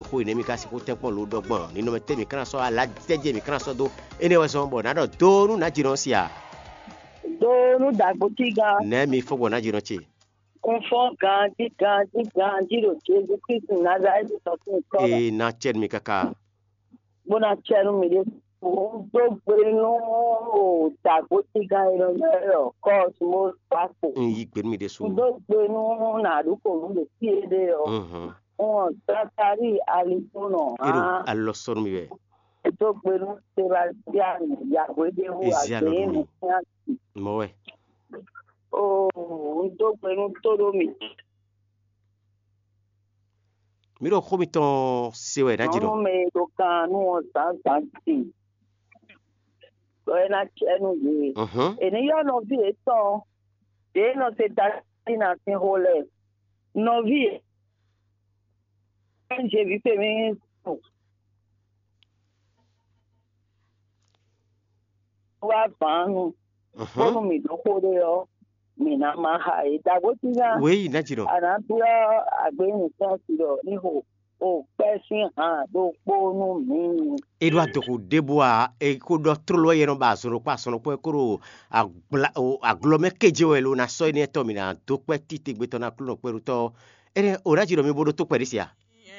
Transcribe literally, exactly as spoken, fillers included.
Xó e nɛ̌ mi ka sixú tɛ́nkpɔ́n lo ɖɔ gbɔn ninɔmɛ tɛ́ mi ka ná sɔ́ alá tɛ́ jɛ mi ka ná sɔ́ dó? Énɛ́ wɛ zɔ́n bɔ nǎ ɖɔ dó nú nǎjinɔ ɔ́ sia. Dó nú dǎgbótígán. Nɛ̌ mi fɔ́n gbɔn nǎjinɔ ce? Un fɔ́n ganjí ganjí ganjí ɖo Jezu Klísu Nazalɛ́ti tɔn sín tɔ́ mɛ. Ee, ná cɛ nú mi káká. Bó ná cɛ nú mi ɖésú. Un dó gbe nú dǎgbótígán e nɔ ylɔ́ ɛ ɖɔ Kɔ́smos Gbakpo. Un yí gbe nú mi ɖésú. Un dó gbe nú nǎɖuxonú ɖo fí e ɖe ɔ́. Mhm. Un wɔn Zakalíi Alitónɔ. É ɖo hán. Alɔ sɔ́ nú mi wɛ. Un dó gbe nú Sebastíani Yahwéɖéwu. Ezi alɔ nú mi. Mɔ̌ wɛ. Oo, un dó gbe nú tóɖó mì. Mǐ ɖo xó mitɔn se wɛ ná jǐ ɖɔ. Nɔ́ mɛ e ɖo kan nú ɔ́ zǎnzǎn din. Ɖɔ é ná cɛ nú yě. Mhm. È ní ylɔ́ nɔví yětɔn ɖě e nɔ se tají ná sín xó lɛ́ɛ. Nɔví yě. Jeví fě mì wá vǎn nu. Mhm. Bónú mǐ ɖó xó ɖé ɔ́, mǐ ná má xa é. Dǎgbótígán, wěyi ná jǐ ɖɔ. A nǎ byɔ́ agběnúsɛ́nsi ɖɔ ní xo o kpɛ́ sín han ɖokpó nú mǐ. É ɖó adɔxo ɖěbǔ ǎ, é ko ɖɔ tlóló wɛ yɛ nɔ ba azɔn ɖokpó azɔn ɖokpó wɛ kó ɖo agbla- o- aglɔ mɛ kéje wɛ lo ná sɔ́ énɛ́ tɔn mǐ ná dó kpɛ́ títegbe tɔn ná klúnɔ kpɛɖutɔ́. Énɛ́ o ná jǐ ɖɔ mi bó ɖó tó kpɛɖé sia.